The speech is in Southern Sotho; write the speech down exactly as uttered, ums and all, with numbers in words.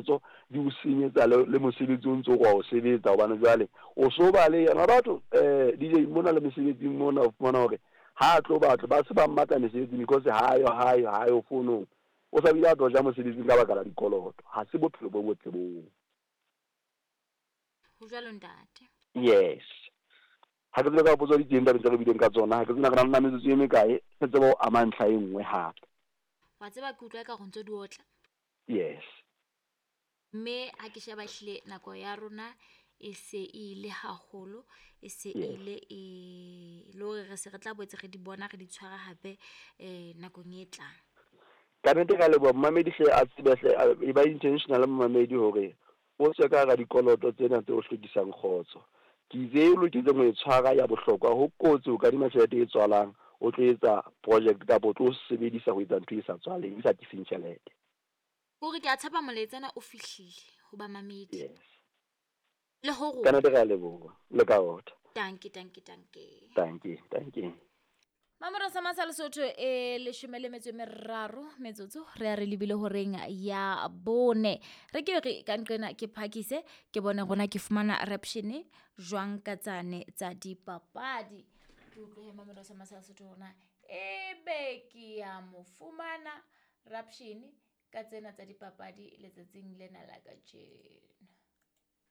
kgotso di o senyetsa le, le mosebetsi o ntso o wa o sebetsa, hobane jwale o so ba le yona batho eh D J mona le mesebetsing mona o fumana hore ha a tlo batlo ba se ba mmatla mesebetsing because ha yo ha yo ha yo fonong, o sa bile a tlo ja mosebetsing ka baka la dikoloto. Ha se bophelo bo botle boo. Ho jwalo ntate. Yes. Ha ke tsebe ka potso di teng tabeng tse re bileng ka tsona, ha ke tsebe na re na le metsotso e mekae re tsebe ho ama ntlha e nngwe hape. Wa tseba ke utlwa eka re ntso di otla. Yes. Mme ha ke sheba ehlile nako ya rona e se e ile haholo, e se Yes. ile e le hore re se re tla boetse re di bona re di tshwara hape eh nakong e tlang. Ka nnete ka leboha momamedi hle a tsebe hle, a- e ba intentional momamedi hore o tswe ka hara dikoloto tsena tse o hlokisang kgotso. Ke itse e loketseng ho e tshwara ya bohlokwa, ho kotsi ho kadima tjhelete e tswalang, o tlo etsa project kapa o tlo sebedisa ho etsa ntho e sa tswaleng, e sa tliseng tjhelete. Hore ke a tshepa molaetsa ona o fihlile ho bamamedi. Yes. Le ho rona. Ka nnete re a leboha, le ka rota. Dankie, dankie, dankie. Dankie, dankie. Mamoro sa masa Lesotho e leshome le metso e meraro metsotso re a re lebile horeng ya bone. Re ke re ka nqena ke phakise ke bone rona ke fumana rapshene jwang ka tsane tsa dipapadi. Ke utlwe he Mamoro sa masa Lesotho rona ebe ke ya mo fumana rapshene ka tsena tsa dipapadi letsatsing lena la kajeno.